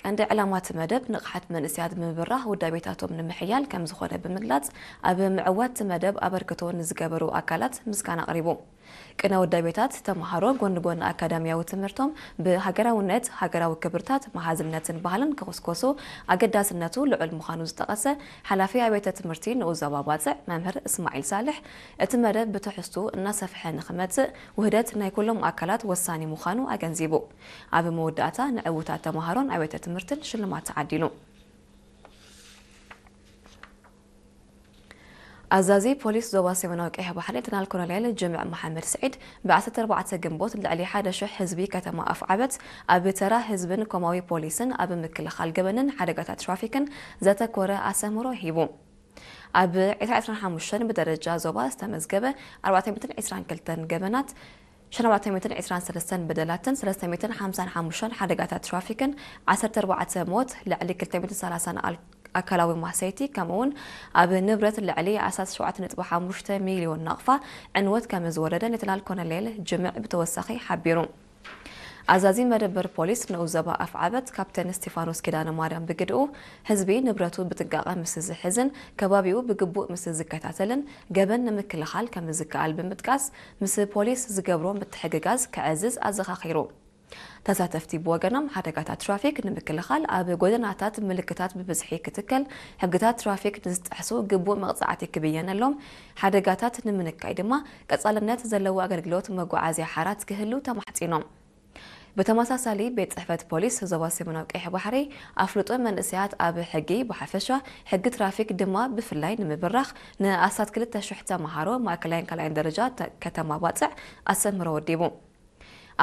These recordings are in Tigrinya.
ቀንዲ ዕላማ እቲ መደብ ንቕሓት መንእሰያት ብምብራህ ውዳቤታቶም ንምሕያል ከም ዝኾነ ብምግላጽ፣ ኣብ ምዕዋት እቲ መደብ ኣበርክቶ ንዝገበሩ ኣካላት ምስጋና ኣቕሪቡ። ቅነ ውዳቤታት ተምሃሮ ጎኒ ጎኒ ኣካዳሚያዊ ትምህርቶም ብሃገራውነት፣ ሃገራዊ ክብርታት፣ መሃዝነትን ባህልን ክኹስኮሱ ኣገዳስነቱ ልዑል ምዃኑ ዝጠቐሰ ሓላፊ ኣብያተ ትምህርቲ ንኡስ ዞባ ባጽዕ መምህር እስማዒል ሳልሕ፣ እቲ መደብ ብትሕዝቱ እናሰፍሐ ንኽመጽእ ውህደት ናይ ኩሎም ኣካላት ወሳኒ ምዃኑ ኣገንዚቡ። ኣብ መወዳእታ ንዕዉታት ተምሃሮን ኣብያተ ትምህርትን ሽልማት ተዓዲሉ። ኣዛዚ ፖሊስ ዞባ ሰሜናዊ ቀይሕ ባሕሪ ሌተናል ኮሎኔል ጅምዕ መሓመድ ስዒድ ብ14 ግንቦት ልዕሊ ሓደ ሽሕ ህዝቢ ከተማ ኣፍዓበት ኣብ ተራ ህዝብን ኮማዊ ፖሊስን ኣብ ምክልኻል ገበንን ሓደጋታት ትራፊክን ዘተኮረ ኣሰምሮ ሂቡ። ኣብ ዕስራ ዕስራን ሓሙሽተን ብደረጃ ዞባ ዝተመዝገበ ኣርባዕተ ሚእትን ዕስራን ክልተን ገበናት፣ ሸነባተ ሚእትን ዕስራን ሰለስተን በደላትን ሰለስተ ሚእትን ሓምሳን ሓሙሽተን ሓደጋታት ትራፊክን ዓሰርተ ኣርባዕተ ሞት፣ ልዕሊ ክልተ ሚእትን ሰላሳን ኣል-፣ ኣካላዊ ማህሰይቲ፣ ከምኡውን ኣብ ንብረት ልዕሊ ኣስታት ሸውዓተ ነጥቢ ሓሙሽተ ሚልዮን ናቕፋ ዕንወት ከም ዝወረደ ሌተናል ኮሎኔል ጅምዕ ብተወሳኺ ሓቢሩ። ኣዛዚ መደበር ፖሊስ ንኡስ ዞባ ኣፍዓበት ካፕቴን እስቲፋኖስ ኪዳነ ማርያም ብግድኡ፣ ህዝቢ ንብረቱ ብጥንቃቐ ምስ ዝሕዝን ከባቢኡ ብግቡእ ምስ ዝከታተልን ገበን ንምክልኻል ከም ዝከኣል ብምጥቃስ፣ ምስ ፖሊስ ዝገብሮ ምትሕግጋዝ ከዕዝዝ ኣዘኻኺሩ። ተሳተፍቲ ብወገኖም፣ ሓደጋታት ትራፊክ ንምክልኻል ኣብ ጎደናታት ምልክታት ብብዝሒ ክትከል፣ ሕግታት ትራፊክ ንዝጠሕሱ ግቡእ መቕጻዕቲ ክብየነሎም፣ ሓደጋታት ንምንካይ ድማ ቀጻልነት ዘለዎ ኣገልግሎት መጓዓዝያ ሓራት ክህሉ ተማሕጺኖም። ብተመሳሳሊ፣ ቤት ጽሕፈት ፖሊስ ዞባ ሰሜናዊ ቀይሕ ባሕሪ ኣፍልጦ መንእሰያት ኣብ ሕጊ ብሓፈሻ፣ ሕጊ ትራፊክ ድማ ብፍላይ ንምብራኽ ንኣስታት ክልተ ሽሕ ተምሃሮ ማእከላይን ካልኣይን ደረጃ ተ-፣ ከተማ ባጽዕ ኣስተምህሮ ወዲቡ።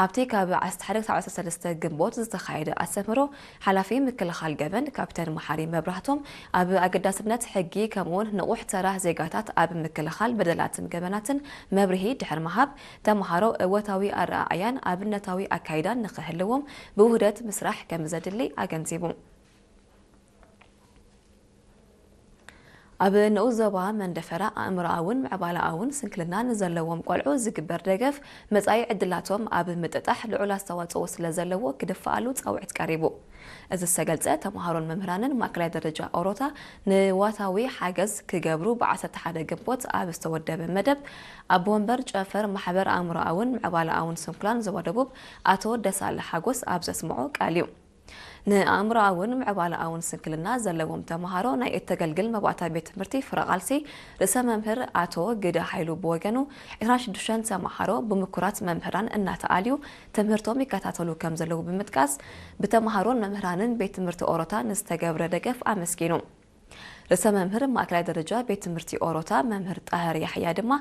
ኣብቲ ካብ ዓሰርተ ሓደ ክሳብ ዓሰርተ ሰለስተ ግንቦት ዝተኻየደ ኣስተምህሮ፣ ሓላፊ ምክልኻል ገበን ካፕተን መሓሪ መብራህቶም ኣብ ኣገዳስነት ሕጊ ከምኡውን ንቑሕ ተራ ዜጋታት ኣብ ምክልኻል በደላትን ገበናትን መብርሂ ድሕሪ ምሃብ፣ ተምሃሮ እወታዊ ኣረኣእያን ኣብነታዊ ኣካይዳን ንኽህልዎም ብውህደት ምስራሕ ከም ዘድሊ ኣገንዚቡ። ኣብ ንኡስ ዞባ መንደፈራ ኣእምሮኣውን ምዕባለኣውን ስንክልና ንዘለዎም ቆልዑ ዝግበር ደገፍ፣ መጻኢ ዕድላቶም ኣብ ምጥጣሕ ልዑል ኣስተዋጽኦ ስለ ዘለዎ ክድፍኣሉ ጻውዒት ቀሪቡ። እዚ ዝተገልጸ፣ ተምሃሮን መምህራንን ማእከላይ ደረጃ ኦሮታ ንዋታዊ ሓገዝ ክገብሩ ብ ዓሰርተ ሓደ ግንቦት ኣብ ዝተወደበ መደብ፣ ኣቦ ወንበር ጨፈር ማሕበር ኣእምሮኣውን ምዕባለኣውን ስንኩላን ዞባ ደቡብ ኣቶ ደሳለ ሓጎስ ኣብ ዘስምዖ ቃል እዩ። ንኣእምሮኣውን ምዕባለኣውን ስንክልና ዘለዎም ተምሃሮ ናይ እተገልግል መባእታ ቤት ትምህርቲ ፍረ ቃልሲ ርእሰ መምህር ኣቶ ግደ ሃይሉ ብወገኑ፣ ዕስራን ሽዱሽተን ተምሃሮ ብምኩራት መምህራን እናተኣልዩ ትምህርቶም ይከታተሉ ከም ዘለዉ ብምጥቃስ፣ ብተምሃሮን መምህራንን ቤት ትምህርቲ ኦሮታ ንዝተገብረ ደገፍ ኣመስጊኑ። ርእሰ መምህር ማእከላይ ደረጃ ቤት ትምህርቲ ኦሮታ መምህር ጣህር ያሕያ ድማ፣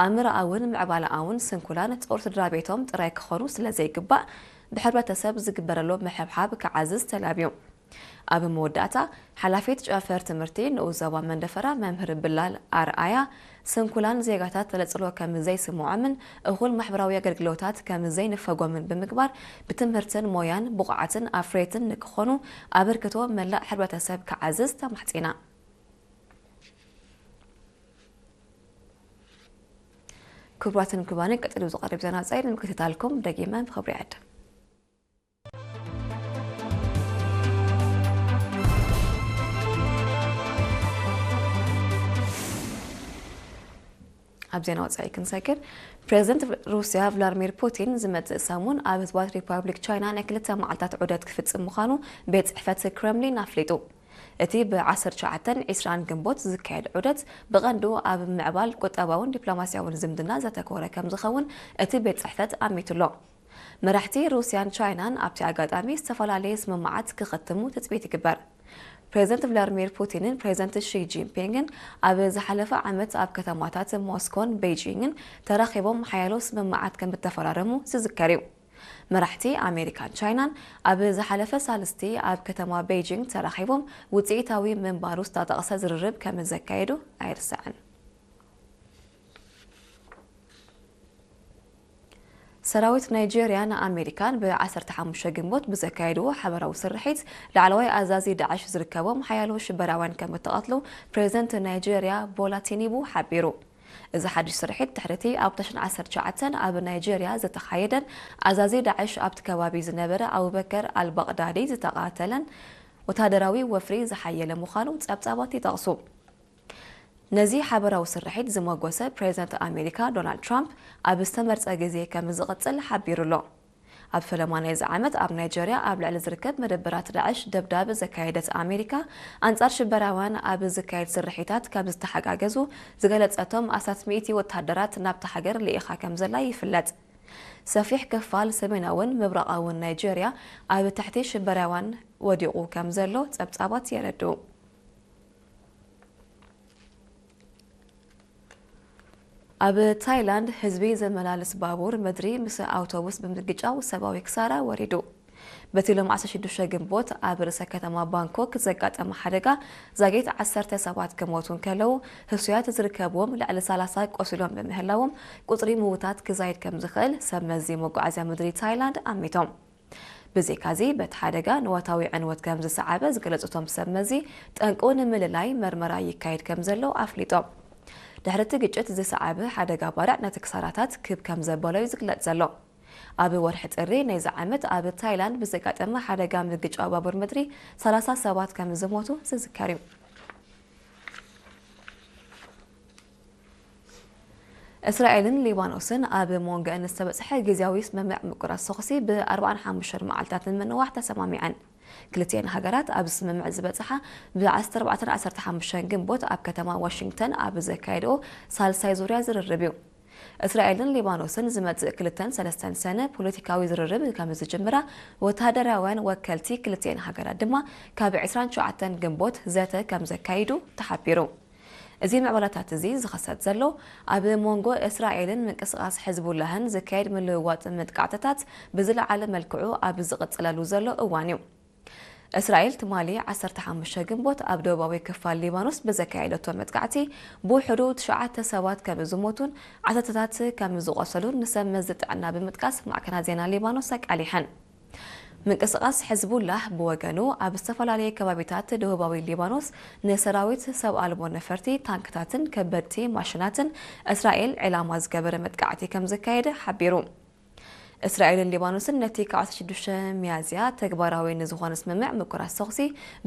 ኣእምሮኣውን ምዕባለኣውን ስንኩላን ጾር ስድራ ቤቶም ጥራይ ክኾኑ ስለ ዘይግባእ፣ ብሕብረተሰብ ዝግበረሎም ምሕብሓብ ክዓዝዝ ተላብዩ። ኣብ መወዳእታ፣ ሓላፊት ጨንፈር ትምህርቲ ንኡስ ዞባ መንደፈራ መምህር ብላል ኣርኣያ፣ ስንኩላን ዜጋታት ተነጽሎ ከም ዘይስምዖምን እኹል ማሕበራዊ ኣገልግሎታት ከም ዘይንፈጎምን ብምግባር፣ ብትምህርትን ሞያን ብቑዓትን ኣፍረይትን ንክኾኑ ኣበርክቶ መላእ ሕብረተሰብ ክዓዝዝ ተማሕጺና። ክቡራትን ክቡራንን፣ ቀጺሉ ዝቐርብ ዜና ወጻኢ ንምክትታልኩም ደጊመ ብኽብሪ ይዕድም። ኣብ ዜና ወጻኢ ክንሰግር፣ ፕሬዚደንት ሩስያ ቭላድሚር ፑቲን ዝመጽእ ሰሙን ኣብ ህዝባዊት ሪፓብሊክ ቻይና ናይ ክልተ መዓልታት ዑደት ክፍጽም ምዃኑ ቤት ጽሕፈት ክረምሊን ኣፍሊጡ። እቲ ብ ዓሰርተ ትሽዓተን ዕስራን ግንቦት ዝካየድ ዑደት ብቐንዱ ኣብ ምዕባል ቁጠባውን ዲፕሎማስያውን ዝምድና ዘተኮረ ከም ዝኸውን እቲ ቤት ጽሕፈት ኣሚቱሎ። መራሕቲ ሩስያን ቻይናን ኣብቲ ኣጋጣሚ ዝተፈላለየ ስምምዓት ክኸትሙ ትጽቢት ይግበር። ፕሬዚደንት ቭላድሚር ፑቲንን ፕሬዚደንት ሺ ጂንፒንግን ኣብ ዝሓለፈ ዓመት ኣብ ከተማታት ሞስኮን ቤይጂንግን ተራኺቦም ሓያሎ ስምምዓት ከም እተፈራረሙ ዝዝከር እዩ። መራሕቲ ኣሜሪካን ቻይናን ኣብ ዝሓለፈ ሳልስቲ ኣብ ከተማ ቤይጂንግ ተራኺቦም ውጽኢታዊ ምንባሩ ዝተጠቕሰ ዝርርብ ከም ዘካየዱ ኣይርሳዕን። ሰራዊት ናይጄርያ ንኣሜሪካን ብ ዓሰርተ ሓሙሽተ ግንቦት ብዘካየድዎ ሓበራዊ ስርሒት፣ ላዕለዋይ ኣዛዚ ዳዕሽ ዝርከቦም ሓያሎ ሽበራውያን ከም እተቐትሉ ፕሬዚደንት ናይጄርያ ቦላ ቲኒቡ ሓቢሩ። እዚ ሓድሽ ስርሒት ድሕሪቲ ኣብ ተሽን ዓሰርተ ትሽዓተ ኣብ ናይጄርያ ዝተኻየደን ኣዛዚ ዳዕሽ ኣብቲ ከባቢ ዝነበረ ኣቡበከር ኣልባቕዳዲ ዝተቓተለን ወታደራዊ ወፍሪ ዝሓየለ ምዃኑ ጸብጻባት ይጠቕሱ። ነዚ ሓበራዊ ስርሒት ዝመጎሰ ፕሬዝደንት ኣሜሪካ ዶናልድ ትራምፕ ኣብ ዝተመርጸ ግዜ ከም ዝቕጽል ሓቢሩ ኣሎ። ኣብ ፈለማ ናይዚ ዓመት ኣብ ናይጀርያ ኣብ ልዕሊ ዝርከብ መደበራት ዳዕሽ ደብዳብ ዘካየደት ኣሜሪካ፣ ኣንጻር ሽበራውያን ኣብ ዝካየድ ስርሒታት ከም ዝተሓጋገዙ ዝገለጸቶም ኣስታት ሚእቲ ወተሃደራት ናብታ ሃገር ልኢኻ ከም ዘላ ይፍለጥ። ሰፊሕ ክፋል ሰሜናውን ምብራቓውን ናይጀርያ ኣብ ትሕቲ ሽበራውያን ወዲቑ ከም ዘሎ ጸብጻባት የረድኡ። ኣብ ታይላንድ ህዝቢ ዘመላልስ ባቡር ምድሪ ምስ ኣውቶቡስ ብምግጫው ሰብኣዊ ክሳራ ወሪዱ። በቲ ሎም ዓሰርተ ሽዱሽተ ግንቦት ኣብ ርእሰ ከተማ ባንኮክ ዘጋጠመ ሓደጋ ዛጊት ዓሰርተ ሰባት ክሞቱ እንከለዉ፣ ህሱያት ዝርከብዎም ልዕሊ ሰላሳ ቆሲሎም ብምህላዎም፣ ቁጽሪ ምዉታት ክዛይድ ከም ዝኽእል ሰብ መዚ መጓዓዝያ ምድሪ ታይላንድ ኣሚቶም። ብዘይካዚ፣ በቲ ሓደጋ ንዋታዊ ዕንወት ከም ዝሰዓበ ዝገለጹ እቶም ሰብ መዚ፣ ጠንቁ ንምልላይ መርመራ ይካየድ ከም ዘሎ ኣፍሊጦም። ድሕሪ እቲ ግጭት ዝሰዓበ ሓደጋ ባርዕ ነቲ ክሳራታት ክብ ከም ዘበሎ እዩ ዝግለጽ ዘሎ። ኣብ ወርሒ ጥሪ ናይዚ ዓመት ኣብ ታይላንድ ብዘጋጠመ ሓደጋ ምግጫው ባቡር ምድሪ ሰላሳ ሰባት ከም ዝሞቱ ዝዝከር እዩ። እስራኤልን ሊባኖስን ኣብ መንጎአን ዝተበጽሐ ግዝያዊ ስምምዕ ምቁራጽ ተኹሲ ብ ኣርባዓን ሓሙሽተን መዓልታት ንምንዋሕ ተሰማሚዐን። ክልቲኤን ሃገራት ኣብ ስምምዕ ዝበጽሓ ብ ዓሰርተ ኣርባዕተን ዓሰርተ ሓሙሽተን ግንቦት ኣብ ከተማ ዋሽንግተን ኣብ ዘካየድኦ ሳልሳይ ዙርያ ዝርርብ እዩ። እስራኤልን ሊባኖስን ዝመጽእ ክልተን ሰለስተን ሰነ ፖለቲካዊ ዝርርብ ከም ዝጅምራ፣ ወተሃደራውያን ወከልቲ ክልቲኤን ሃገራት ድማ ካብ ዕስራን ትሽዓተን ግንቦት ዘተ ከም ዘካይዱ ተሓቢሩ። እዚ ምዕባለታት እዚ ዝኸሰት ዘሎ፣ ኣብ መንጎ እስራኤልን ምንቅስቓስ ሕዝቡላህን ዝካየድ ምልውዋጥ መጥቃዕትታት ብዝለዓለ መልክዑ ኣብ ዝቕጽለሉ ዘሎ እዋን እዩ። እስራኤል ትማሊ ዓሰርተ ሓሙሽተ ግንቦት ኣብ ደቡባዊ ክፋል ሊባኖስ ብዘካየደቶ መጥቃዕቲ ብውሕዱ ትሽዓተ ሰባት ከም ዝሞቱን ዓሰርተታት ከም ዝቖሰሉን ንሰብ መዚ ጥዕና ብምጥቃስ ማዕከናት ዜና ሊባኖስ ኣቃሊሐን። ምንቅስቓስ ሕዝቡላህ ብወገኑ ኣብ ዝተፈላለየ ከባቢታት ደቡባዊ ሊባኖስ ንሰራዊት ሰብ ኣልቦ ነፈርቲ፣ ታንክታትን ከበድቲ ማሽናትን እስራኤል ዕላማ ዝገበረ መጥቃዕቲ ከም ዘካየደ ሓቢሩ። እስራኤልን ሊባኖስን ነቲ ካብ ዓሰርተ ሽዱሽተ ሚያዝያ ተግባራዊ ንዝኾነ ስምምዕ ምቁራጽ ተኹሲ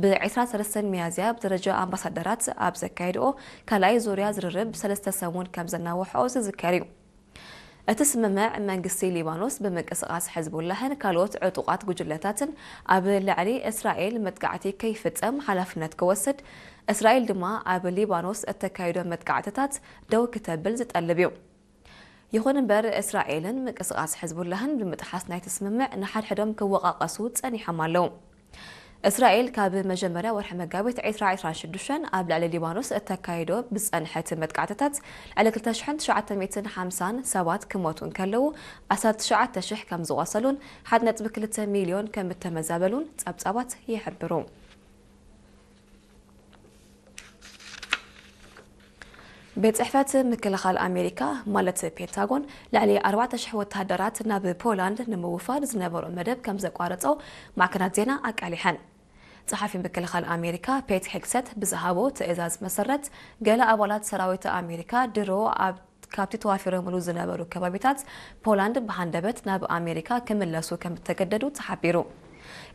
ብ-ዕስራን ሰለስተን ሚያዝያ ብደረጃ ኣምባሳደራት ኣብ ዘካየድኦ ካልኣይ ዙርያ ዝርርብ ሰለስተ ሰሙን ከም ዘናውሐኦ ዝዝከር እዩ። እቲ ስምምዕ መንግስቲ ሊባኖስ ብምንቅስቓስ ሕዝቡላህን ካልኦት ዕጡቓት ጉጅለታትን ኣብ ልዕሊ እስራኤል መጥቃዕቲ ከይፍጸም ሓላፍነት ክወስድ፣ እስራኤል ድማ ኣብ ሊባኖስ እተካይዶ መጥቃዕትታት ደው ክተብል ዝጠልብ እዩ። ይኹን እምበር፣ እስራኤልን ምንቅስቓስ ሕዝቡላህን ብምጥሓስ ናይቲ ስምምዕ ንሓድሕዶም ክወቓቐሱ ጸኒሖም ኣለዉ። እስራኤል ካብ መጀመርያ ወርሒ መጋቢት ዕስራ ዕስራን ሽዱሽተን ኣብ ልዕሊ ሊባኖስ እተካይዶ ብዝጸንሐት መጥቃዕትታት፣ ልዕሊ ክልተ ሽሕን ትሽዓተ ሚእትን ሓምሳን ሰባት ክሞቱ እንከለዉ፣ ኣስታት ትሽዓተ ሽሕ ከም ዝቖሰሉን ሓደ ነጥቢ ክልተ ሚልዮን ከም እተመዛበሉን ጸብጻባት ይሕብሩ። ቤት ጽሕፈት ምክልኻል ኣሜሪካ፣ ማለት ፔንታጎን፣ ልዕሊ ኣርባዕተ ሽሕ ወተሃደራት ናብ ፖላንድ ንምውፋር ዝነበሮ መደብ ከም ዘቋረጾ ማዕከናት ዜና ኣቃሊሐን። ጸሓፊ ምክልኻል ኣሜሪካ ፔት ሄግሰት ብዝሃቦ ትእዛዝ መሰረት፣ ገለ ኣባላት ሰራዊት ኣሜሪካ ድሮ ኣብ፣ ካብቲ ተዋፊሮምሉ ዝነበሩ ከባቢታት ፖላንድ ብሃንደበት ናብ ኣሜሪካ ክምለሱ ከም እተገደዱ ተሓቢሩ።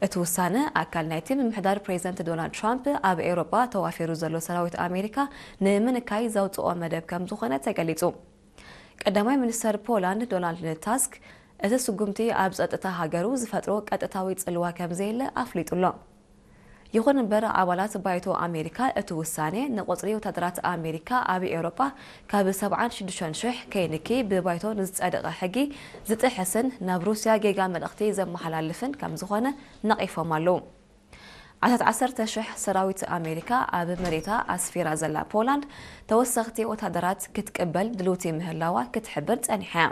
እቲ ውሳነ ኣካል ናይቲ ምምሕዳር ፕሬዝደንት ዶናልድ ትራምፕ ኣብ ኤውሮጳ ተዋፊሩ ዘሎ ሰራዊት ኣሜሪካ ንምንካይ ዘውጽኦ መደብ ከም ዝኾነ ተገሊጹ። ቀዳማይ ሚኒስተር ፖላንድ ዶናልድ ታስክ፣ እቲ ስጉምቲ ኣብ ጸጥታ ሃገሩ ዝፈጥሮ ቀጥታዊ ጽልዋ ከም ዘየለ ኣፍሊጡ ኣሎ። ይኹን እምበር፣ ኣባላት ባይቶ ኣሜሪካ እቲ ውሳኔ ንቁጽሪ ወታደራት ኣሜሪካ ኣብ ኤውሮጳ ካብ ሰብዓን ሽዱሽተን ሽሕ ከይንኪ ብባይቶ ንዝጸደቐ ሕጊ ዝጥሕስን ናብ ሩስያ ጌጋ መልእኽቲ ዘመሓላልፍን ከም ዝኾነ ነቒፎም ኣለዉ። ኣስታት ዓሰርተ ሽሕ ሰራዊት ኣሜሪካ ኣብ መሬታ ኣስፊራ ዘላ ፖላንድ ተወሰኽቲ ወታደራት ክትቅበል ድልውቲ ምህላዋ ክትሕብር ጸኒሓ እያ።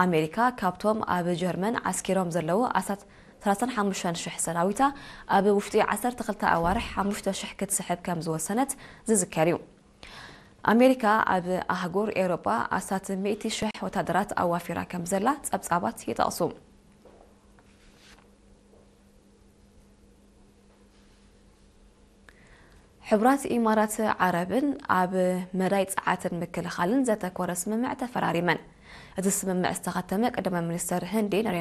ኣሜሪካ ካብቶም ኣብ ጀርመን ዓስኪሮም ዘለዉ ኣስታት ሰላሳን ሓሙሽተን ሽሕ ሰራዊታ ኣብ ውሽጢ ዓሰርተ ክልተ ኣዋርሕ ሓሙሽተ ሽሕ ክትስሕብ ከም ዝወሰነት ዝዝከር እዩ። ኣሜሪካ ኣብ ኣህጉር ኤውሮጳ ኣስታት ሚእቲ ሽሕ ወታደራት ኣዋፊራ ከም ዘላ ጸብጻባት ይጠቕሱ። ሕቡራት ኢማራት ዓረብን ኣብ መዳይ ጸዓትን ምክልኻልን ዘተኮረ ስምምዕ ተፈራሪመን። እቲ ስምምዕ ዝተኸተመ ቀዳማይ ሚኒስተር ህንዲ